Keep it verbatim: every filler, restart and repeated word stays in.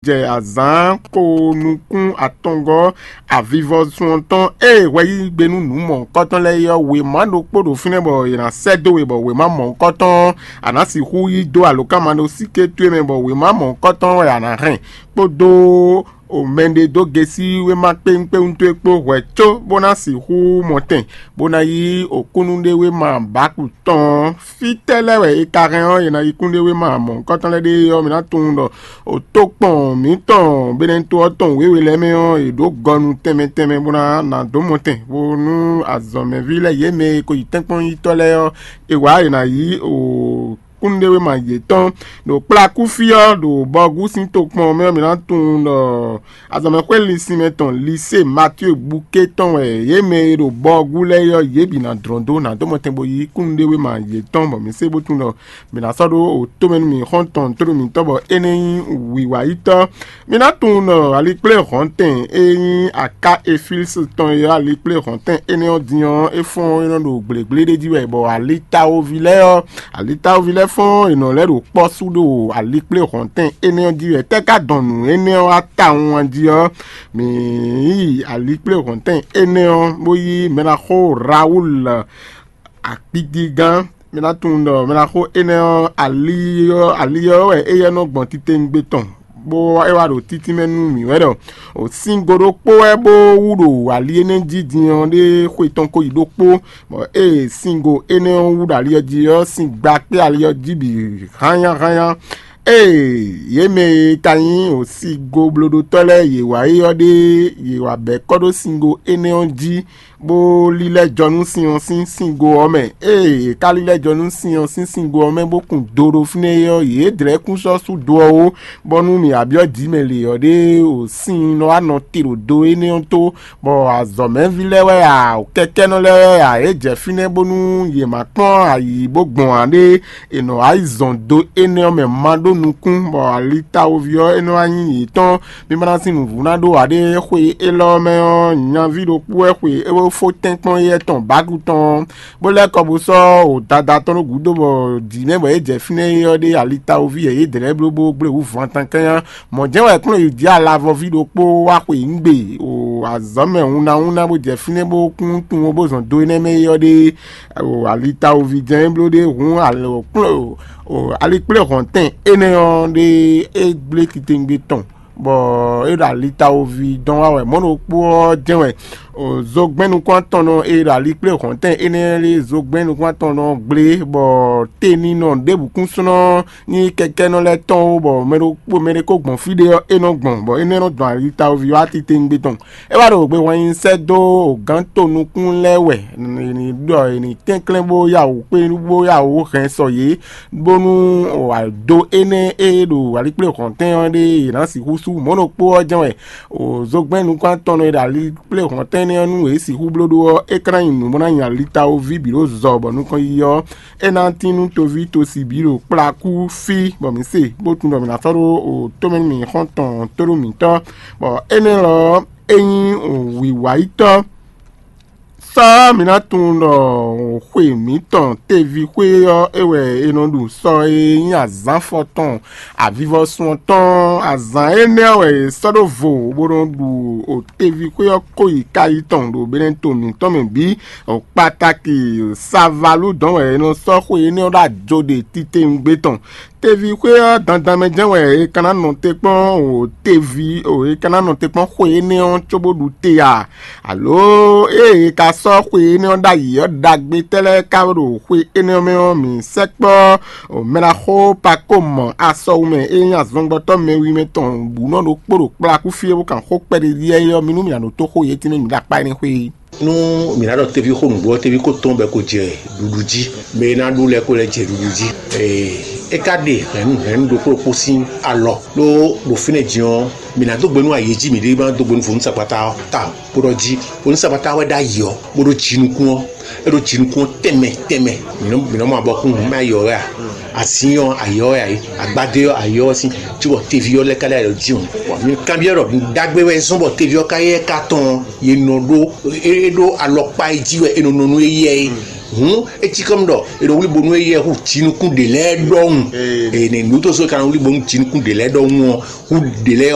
tɛ azǎn ko nukún atɔngɔ́ avivɔsun ɔ́ tɔn ée hwɛ yí gbe nú nǔ mɔ̌hunkɔtɔn lɛ́ɛ é ɔ́, wěma ɖokpó ɖo fínɛ́ bɔ è nǎ sɛ́ dó we, bɔ wěma mɔ̌hunkɔtɔn ɔ́, a nǎ sixú yí dó alǒkanmaɖósíké towe mɛ, bɔ wěma mɔ̌hunkɔtɔn wɛ a nǎ hɛn kpódó o mɛɖe dó gesí wéma kpéwúnkpéwún towe kpó hwɛ̌ có, bó ná sixú mɔ tɛn, bó ná yí okúnnuɖewéma bǎku tɔn ɔ́. Fítɛ́ lɛ́ɛ wɛ è ka hɛn ɔ́, è nǎ yí kúnɖéwéma mɔ̌hunkɔtɔn lɛ́ɛ ɖe ɔ́, mi ná tunwun ɖɔ o tokpɔn mǐtɔn Benɛto ɔ́ tɔn wěwe lɛ́ɛ mɛ ɔ́, è ɖǒ gɔnu tɛnmɛ tɛnmɛ bó ná ná dó mɔ tɛn, bónú azɔ̌mɛví lɛ́ɛ yě mɛ e ko yi tɛ́nkpɔ́n yítɔ́ lɛ́ɛ ɔ́, è wǎ è nǎ yí o kúnnuɖewéma yětɔn ɖo kplakúfí ɔ́, ɖo Bɔgú sín tokpɔn mɛ ɔ́, mi ná tunwun ɖɔ azɔ̌mɛxwé linsinmɛ tɔn Lisée Matíe Bukée tɔn wɛ yě mɛ e ɖo Bɔgú lɛ́ɛ é ɔ́, yě bǐ ná dlɔ́n dó ná dó mɔtɛn bó yí kúnnuɖewéma yětɔn, bɔ mǐ se bó tunwun ɖɔ mǐ ná sɔ́ ɖó o tomɛ nú mǐ xɔ́ntɔn tóɖó mǐtɔn, bɔ é nɛ́ nyí wǐwáyítɔ́. Mi ná tunwun ɖɔ alikplé hɔ̌ntɛn e nyí aká Efilísi tɔn e ɔ́, alikplé hɔ̌ntɛn énɛ́ ɔ́ din ɔ́, é fɔ́n é nɔ ɖo gblégbléɖé jí wɛ, bɔ alitawoví lɛ́ɛ ɔ́, alitawoví lɛ́ɛ fɔ́n è nɔ lɛ́ ɖo kpɔ́ sú ɖo alikplé hɔ̌ntɛn énɛ́ ɔ́ jí wɛ. Tɛ́ ka dɔn nǔ énɛ́ ɔ́ wá tawun a jí ɔ́, mǐ yi alikplé hɔ̌ntɛn énɛ́ ɔ́, bó yí mɛ ná xó Rawúlu akpídígán. Mi ná tunwun ɖɔ mɛ ná xó énɛ́ ɔ́, ali ɔ́ ali ɔ́ wɛ éyɛ́ nɔ gbɔn titewungbe tɔn, bó é wá ɖo títí mɛ nú mǐ wɛ ɖɔ o singo ɖokpó wɛ bó wú ɖo ali énɛ́ jí din ɔ́ ɖé xwe tɔn ko yi ɖokpó, bɔ ée singo énɛ́ ɔ́ wú ɖo ali ɔ́ jí ɔ́, sin gba kpé ali ɔ́ jí bǐ hányáhányá. Ée yě mɛ e ka nyí o singo blóɖótɔ́ lɛ́ɛ yě wá é ɔ́ ɖe, yě wá bɛ̌ kɔ́ ɖó singo énɛ́ ɔ́ jí, bó lílɛ́ jɔ nú sin ɔ́ sín singo ɔ́ mɛ. Ée yě ka lílɛ́ jɔ nú sin ɔ́ sín singo ɔ́ mɛ bó kun do ɖo fínɛ́ é ɔ́, yě dlɛ̌ kún sɔ́ sú do ɔ́ ó, bónú mǐ wá byɔ́ jǐ mɛ lě ɔ́ ɖé o sin nɔ wá nɔ te ɖo do énɛ́ ɔ́ tó, bɔ azɔ̌mɛví lɛ́ɛ wɛ a, kɛkɛ́nɔ lɛ́ɛ wɛ a, yě jɛ fínɛ́ bónú yě ma kpɔ́n ayǐ bó gbɔn ǎ ɖé. È nɔ wá yi zɔn do énɛ́ ɔ́ mɛ ma ɖó nukún, bɔ alitawoví ɔ́ é nɔ wá nyí yětɔn. Mi ma ná sín nǔvú ná ɖó ǎ ɖé. Xwe élɔ́ mɛ ɔ́, nyaví ɖokpó wɛ xwe é fó tɛ́nkpɔ́n éyɛ́ tɔn bǎku tɔn, bó lɛ́ kɔ bó sɔ́ o dada tɔn ɖó gǔdo, bɔ jǐ mɛ bɔ é jɛ fínɛ́ é ɔ́ ɖé alitawoví yɛ yě dlɛ̌ bló bó gblé wǔ van tankánnyá. Mɔ̌ jɛ́n wɛ kplɔ́n yi jǐ alavɔví ɖokpó wá xwe nǔ gbe o azɔ̌ mɛ hunnáhúnná bó jɛ fínɛ́ bó kún tunwun bó zɔn do énɛ́ mɛ é ɔ́ ɖé. O alitawoví jɛ́n é bló ɖé hǔn kplɔ́n o alikplé hɔ̌ntɛn énɛ́ ɔ́ ɖé é gblé titewungbe tɔn, bɔ é ɖo alitawoví dɔn wá wɛ. Mɔ̌ ɖokpó ɔ́ jɛ́n wɛ o zogbɛ́n nukúntɔn nɔ e ɖo alikplé hɔ̌ntɛn énɛ́ lé zogbɛ́n nukúntɔn nɔ gblé, bɔ teninɔ ɖěbǔ kún sɔ́ nɔ nyí kɛkɛ́nɔ lɛ́ɛ tɔn ó, bɔ mɛ ɖokpó mɛ ɖé kó gbɔn fí ɖé ɔ́, é nɔ gbɔn, bɔ énɛ́ nɔ dɔn alitawoví wá titewungbe tɔn. É wá ɖo gbe hwan nyi sɛ́ dó gǎn to nukún lɛ́ɛ wɛ, è nǐ ɖɔ è nǐ tɛ́nklɛ́n bó yá wǔ kpé bó yá wǔ hɛn sɔ yě, bónú do énɛ́ e ɖo alikplé hɔ̌ntɛn ɔ́ ɖé è nǎ sixú sú. Mɔ̌ ɖokpó ɔ́ jɛ́n wɛ o zogbɛ́n nukúntɔn e ɖo alikplé hɔ̌ntɛn énɛ́ ɔ́ nú yě sixú bló ɖó ɔ́, é ka ná nyí nǔ bó ná nyi alitawoví bǐ ɖo zɔ bɔ nukɔn yiyi ɔ́, é ná tín nú toví tosi bǐ ɖo kplakú fí, bɔ mǐ se bó tunwun ɖɔ mǐ ná sɔ́ ɖó o tómɛ nú mǐ xɔ́ntɔn tóɖó mǐtɔn, bɔ énɛ́ lɔ ɔ́, é nyí wǐwáyítɔ́. Sɔ́ mǐ ná tunwun ɖɔ xwe mǐtɔn teví xwé ɔ́, é wɛ è nɔ ɖu sɔ e nyí azǎn fɔtɔn avivɔsun ɔ́ tɔn. Azǎn énɛ́ ɔ́ wɛ è sɔ́ ɖó vo bó nɔ ɖu o teví xwé ɔ́ kó yi káyi tɔn ɖo Benɛto mǐtɔn mɛ bǐ. O kpatáki Savalú dɔn wɛ è nɔ sɔ́ xwe énɛ́ ɔ́ ɖó ajo ɖe titewungbe tɔn. Teví xwé ɔ́ dandan mɛ jɛ́n wɛ è ka ná nɔ te kpɔ́n o teví o è ka ná nɔ te kpɔ́n xwe énɛ́ ɔ́ cóbó ɖu te a? Alo ée è ka sɔ́ xwe énɛ́ ɔ́ ɖ'ayǐ ɔ́, ɖagbe tɛ́ lɛ́ɛ ka ɖo xwe énɛ́ ɔ́ mɛ ɔ́, mǐ sɛkpɔ́ mɛɖaxó Pakómɔ asɔwumɛ e nyí azɔngbɔtɔ́ mɛwimɛ tɔn bǔ nɔ ɖokpó ɖo kplakú fí é bó kan xó kpɛɖéɖíyɛ́ é ɔ́, mi nú mǐ ná ɖótó xó yě tínmɛ mǐ ɖo akpá énɛ́ xwé é. Nú mǐ ná ɖɔ teví xó nǔgbó ɔ́, teví ko tɔn bɔ è ko jɛ ɖuɖu jí, mɛ e ná ɖu lɛ́ɛ ko lɛ́ jɛ ɖuɖu jí. Ee, é ka ɖe hɛ̌nnu hɛ̌nnu ɖokpó ɖokpó sín alɔ, ɖó ɖo fínɛ́ din ɔ́, mǐ ná dó gbe nú ayǐ jí mǐ ɖé ma dó gbe nú vodúnsagbata ɔ́ tawun. Bó ɖɔ jí vodúnsagbata ɔ́ wɛ ɖ'ayǐ ɔ́, bó ɖó jinukún ɔ́, é ɖó jinukún ɔ́ tɛnmɛ tɛnmɛ. Mǐ nɔ mǐ nɔ mɔ abɔkún mɛ ayǐ ɔ́ wɛ a? Azin ɔ́ ayǐ ɔ́ wɛ a? Agbadé ɔ́ ayǐ ɔ́ wɛ sín, cóbɔ teví ɔ́ lɛ́ ka ɖo ayǐ ɔ́ jí o. Bɔ mi kanbyɔ́ ɖɔ nǔɖagbe wɛ zɔ́n bɔ teví ɔ́ ka yɛ ka tɔn ɔ́, yě nɔ ɖó é ɖó alɔkpa e jí wɛ è nɔ nɔ nú éyɛ́ é. Hǔn é cí kɔ́ ɖɔ è nɔ wlí bónú éyɛ́ hú jinukún ɖě lɛ́ɛ ɖɔhun. Ene nǔ tó so è ka nɔ wlí bónú jinukún ɖě lɛ́ɛ ɖɔhun ɔ́, hú ɖě lɛ́ɛ